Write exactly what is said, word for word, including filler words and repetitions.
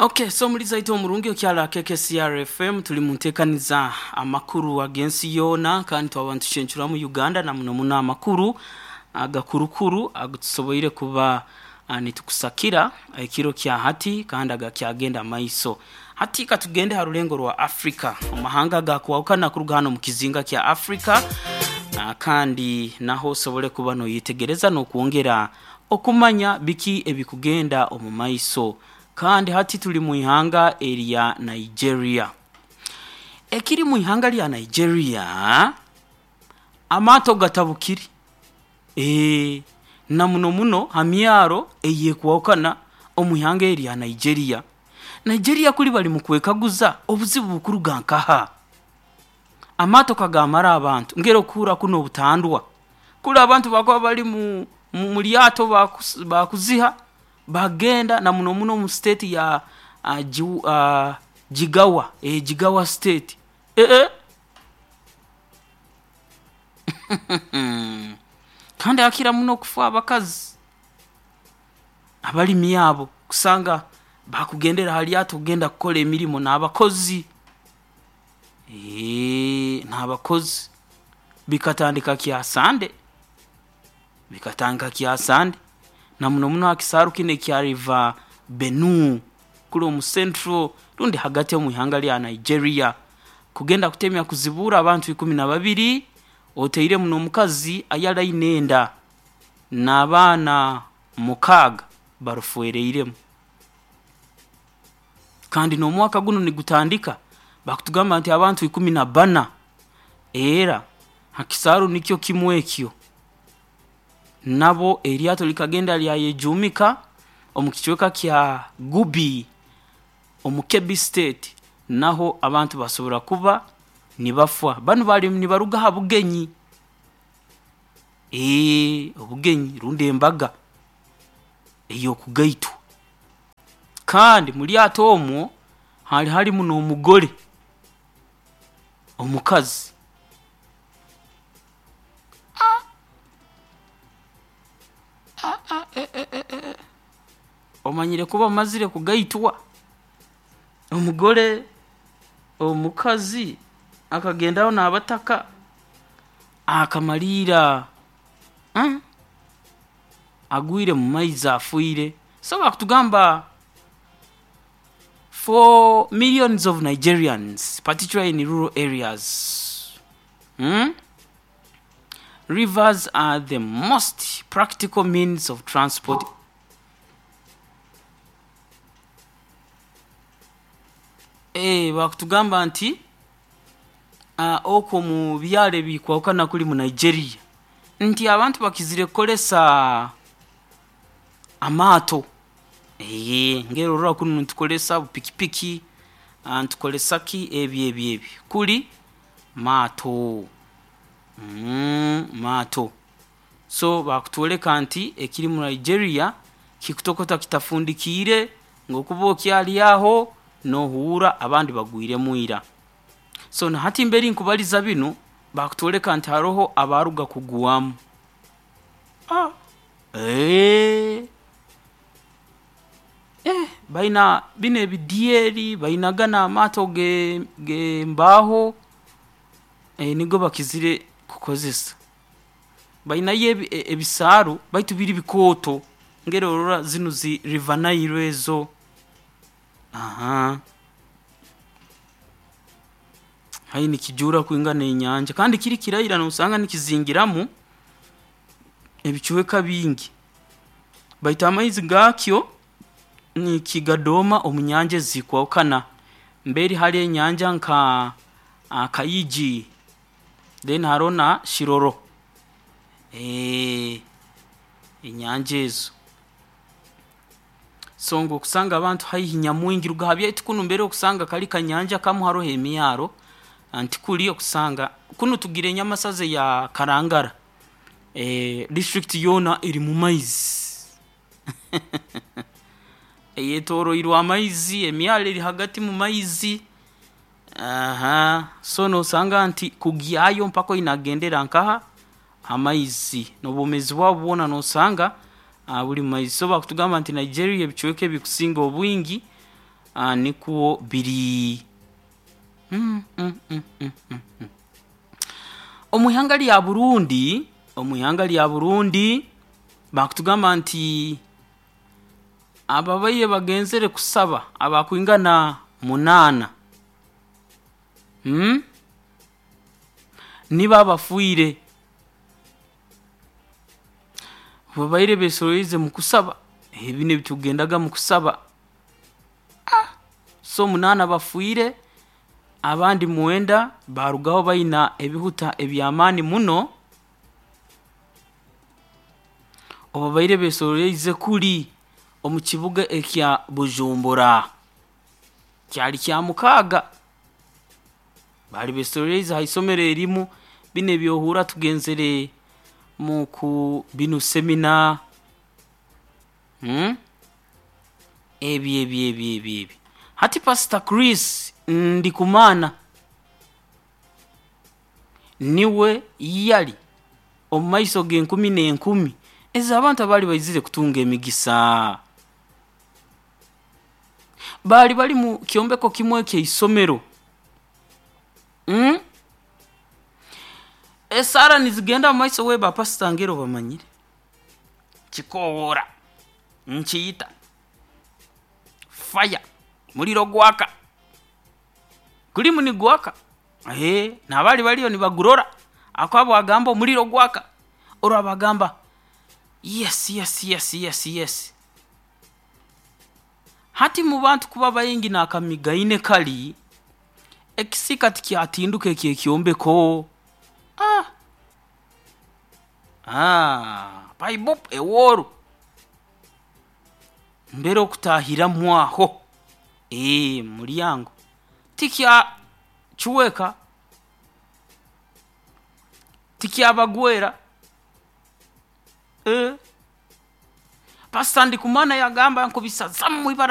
Okay, so muliza ito omurungi okyala K K C R F M tuli muntekaniza amakuru agensi yona kandi twabantu chenchura mu Uganda na muno muno amakuru agakurukuru agutusoboire kuba nitukusakira ekiro kya hati kandi agakyagenda maiso. Hati katugende harulengo rwa Afrika omahanga gakuwakana kuruga hano mu kizinga kya Afrika kandi naho sobole kuba no yitegereza no kuongera okumanya biki ebikugenda omu maiso. Kandi hati tuli mu ihanga erya Nigeria. Ekiri mu ihanga lya Nigeria amato gatabukiri. Eh na muno muno hamyaro eyekuwakana omu ihanga erya Nigeria. Nigeria kuli bali mu kwekaguza obuzibu bukuruga nkaha. Amato kagamara abantu ngero kura kuno obutandwa. Kula abantu bakwa bali mu mu lyato bakuziha bagenda na muno muno mu state ya uh, jiw, uh, Jigawa, eh Jigawa state. Eh eh. Kandi akira muno kufa abakazi abalimi abo kusanga bakugendera hali ato kugenda kukola emirimo n'abakozi. Eh n'abakozi bikatandika kya Sande. Bikatandika kya Sande. Na muno muno akisaru kine kya River Benue kulo mu central rundi hagati mu ihanga lya Nigeria kugenda kutemya kuzibura abantu ikumi na babiri oteire muno mukazi ayala inenda n'abaana mukaga barufuereiremu. Kandi no mwaka guno nigutandika bakutugamba nti abantu ikumi na bana era hakisaru nikyo kimwekyo nabo eryato likagenda lyayejumika omukichweka kya Gubi omukebi state naho abantu basobora kuba nibafwa banu bali nibaruga ha bugenyi eh obugenyi rundi embaga eyo kugaitu. Kandi mulyato omwo hali hali muno omugole omukazi omanyire kuba mazire kugaitwa omugole omukazi akagendaho n'abataka akamalira hmm? agwire mu maizi afuire. So bakutugamba for millions of Nigerians, particularly in rural areas, hmm? rivers are the most practical means of transport. Eh bakutugamba nti uh, oko mu byale bikwakana kuli mu Nigeria nti abantu bakizire kukolesa amato. Eh ngero rwa kuno ntukolesa pikipiki ntukolesa ki ebi ebi ebi kuli mato. Mm, mato. So bakutwoleka nti ekiri mu Nigeria kikutokota kitafundikire ngokuba okyali aho nohura abandi bagwire muira. So na hati mberi nkubaliza bino bakutwoleka nti haroho abaruga kuguwamu. Ah. Eh. Eh baina bine bidieri bainagana amato ge, ge mbaho eh nigo bakizire kukozesa. Baina ye ebisaru baitu biri bikoto ngero rora zinu zi River Nile ezo. Aha. Hayi nikijura kuingana enyanja kandi kiri kirayira no usanga nikizingiramu ebichweka bingi. Baita amaizi gakyo nikigadoma omunyanje zikwakana mberi hali enyanja nka Kayiji then harona Shiroro eh enyanja ezo. Songo kusanga abantu haihi nyamwingi rugahabya itukuno mbere okusanga kali kanyanja kamu haroho emyaro anti kuli okusanga kuno tugire nyamasaze ya Karangara eh district yona iri mu maizi eyetoro irwa maizi emyalo iri hagati mu maizi. Aha so no sanga nti kugyayo mpako inagendera nkaha amaizi nobomezi bwabo bona no sanga uh, buli maizi. So bakutugamba nti Nigeria ebichweke bikusinga obwingi uh, nikwo biri. mm, mm, mm, mm, mm, mm. Omu ihanga lya Burundi, omu ihanga lya Burundi bakutugamba nti ababaire bagenzere kusaba abakwingana munaana, hmm? Nibo abafiire babaire besoroize mu kusaba ebi nebitugendaga mu kusaba. Ah, so munaana bafiire, abandi mwenda barugaho baina ebihuta eby'amaani muno obabaire besoroize kuli omu kibuga ekya Bujumbura. Kyali kya mukaaga, baali besoroize ha isomero erimu. Binu ebyohurra tugenzere mu ku binu semina, hmm? Ebi ebi ebi ebi ebi. Hati Pastor Chris Ndikumana niwe yali omu maiso g'enkumi n'enkumi ez'abantu abaali baizire kutunga emigisa. Baali bali mu kyombeko kimu eky'isomero, mm? Esaara nizigenda mu maiso. We ba pasita ngero bamanyire kikowoora nkiyita fire, muliro gwaka, gulimu nigwaka, ee n'abaali baliyo nibagurora akaba bwagamba omuliro gwaka, orwa bagamba yes, yes, yes, yes, yes. Hati mu bantu kuba baingi n'akamigaine kali ekisiika tikyatinduka eky'ekyombeko. Ah! Ah, paibup ewooru mbere okutaahiramu aho, ee mulyango tikyacweka, tikyabagwera. Ee, Pastor Ndikumana yagamba nkubisazamu ibara.